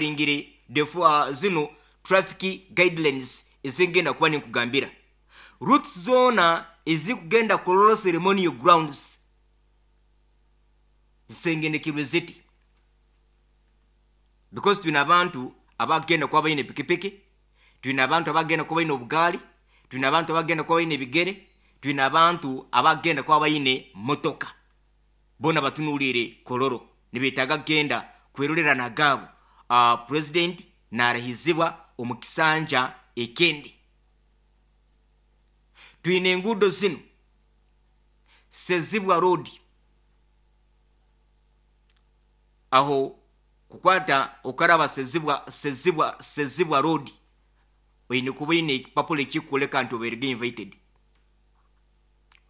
Consideringire zino traffic guidelines ezengenda kuba ninkugambira, routes zoona ezikugenda Kololo Ceremonial Grounds zisengenekirwe ziti, because twine abantu abagenda kuba baine pikipiki, twine abantu abagenda kuba baine obugaali, twine abantu abagenda kuba baine ebigere, twine abantu abagenda kuba baine motoka. Boona batunuliire Kololo, nibetaaga kugenda kwerorera nagaabo president narahizibwa omu kisanja ekindi. Twine enguudo zinu: Sezibwa Road, aho kukwata okaraba Sezibwa Road, oine kuba oine ekipapula ekikukoleka nti obairege invited,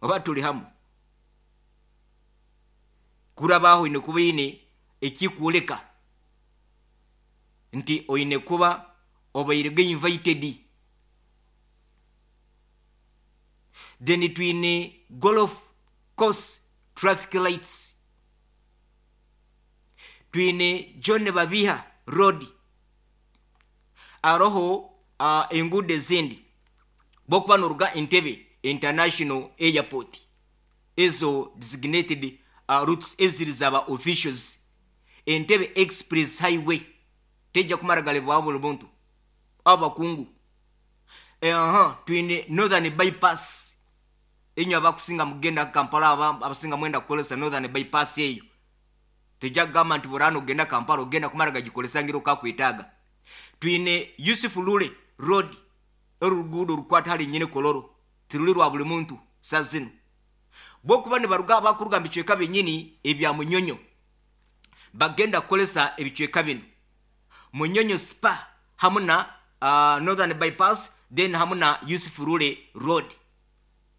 oba tuli hamu. Kurabaho oine kuba oine ekikwoleka nti oine kuba obairege invited. Then twine Golf Course traffic lights, twine John Babiha Road, aroho enguudo ezindi bokuba noruga Entebbe International Airport, ezo designated routes eziri zaba officials. Entebbe Express Highway tejja kumara galebwaho buli muntu, abakungu. Twine Northern Bypass, enywe abakusinga mugenda Kampala, abasinga mwenda kukolesa Northern Bypass eyo, tejja kugamba nti burano ogenda Kampala ogenda kumara gagikolesa ngiro kakwetaaga. Twine Yusuf Lule Road, oruguudo rukwata hali nyine Kololo, tiruli rwa buli muntu. Sazino bokuba nibaruga, bakuruga mu bicweka binyini ebya Munyonyo, bagenda kukolesa ebicweka bino: Munyonyo Spa hamu na Northern Bypass, then hamu na Yusuf Lule Road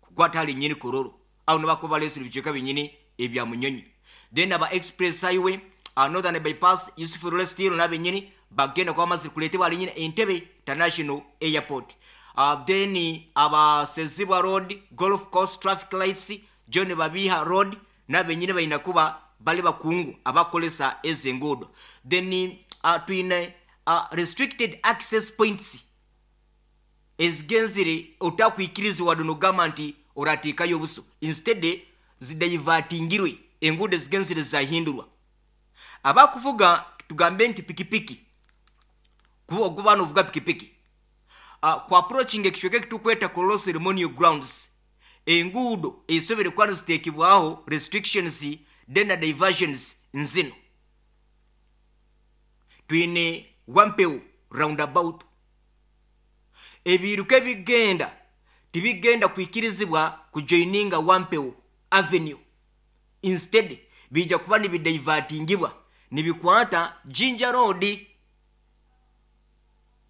kukwata hali nyini Kololo, aho nibakuba balesire ebicweka binyini ebya Munyonyo. Then aba Express Highway, Northern Bypass, Yusuf Lule still nabenyini bagenda kuba bamazire kuleetebwa hali nyini Entebbe International Airport. Then aba Sezibwa Road, Golf Course traffic lights, John Babiha Road, nabenyini balina kuba bali bakungu abakolesa ezo enguudo. Then twine restricted access points ezigenzire otakwikirizibwa nogamba nti orateekayo obuso, instead zidivertingirwe, enguudo ezigenzire zahindurwa. Abakuvuga, tugambe nti pikipiki, okuba novuga pikipiki, ku approaching ekicweka ekitukweta Kololo Ceremonial Grounds, enguudo ezisobere kuba niziteekebwaho restrictions then na diversions nzino. Twine Wampewo Roundabout, ebiruka ebigenda tibigenda kwikirizibwa kujoininga Wampewo Avenue, instead bijja kuba nibidivertingibwa nibikwata Jinja Road,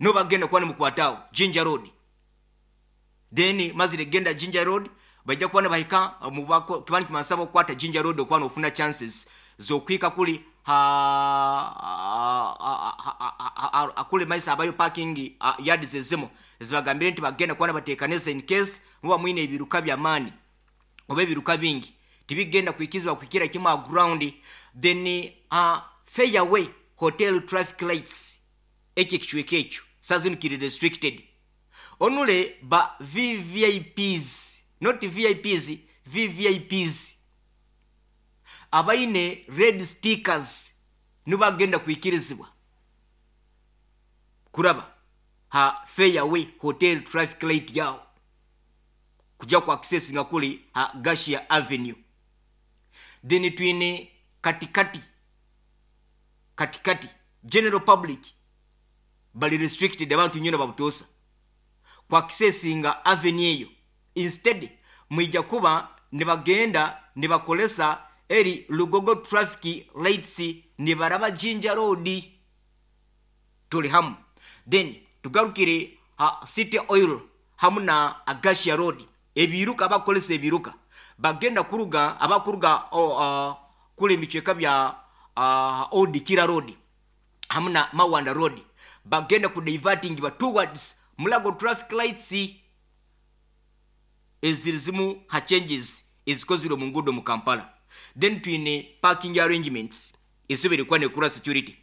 no bagenda kuba nimukwataho Jinja Road. Then mazire genda Jinja Road, bajja kuba nibahika kiba nikimansaba okukwata Jinja Road okuba nofuna chances zokwika kuli akule maisa abayo parking yards ezimu zibagambire nti bagenda kuba nibateekanisa in case muba mwine ebiruka by'amaani oba ebiruka bingi, tibigenda kwikizibwa kwikira kimu a ground. Then Fairway Hotel traffic lights, ekyo ekicweka ekyo sazino kiri restricted onule ba VVIPs, not VIPs, VVIPs abaine red stickers nibagenda kwikirizibwa kuraba ha Fairway Hotel traffic light yao kujja ku access nga kuli ha Gashia Avenue. Then twine katikati, katikati general public bali restricted, abantu nyona babutosa ku accessinga avenue eyo, instead mwija kuba nibagenda nibakolesa eri Lugogo traffic lights nibaraba Jinja Road. Tuli hamu. Then tugarukire ha City Oil hamu na Agasia Road, ebiruka abakolesa ebiruka bagenda kuruga, abakuruga kule ebicweka bya Old Kira Road hamu na Mawanda Road, bagenda ku diverting ba towards Mulago traffic lights. Eziri zimu ha changes ezikozirwe mu nguudo mu Kampala. Then twine parking arrangements ezisobere kuba nekura security.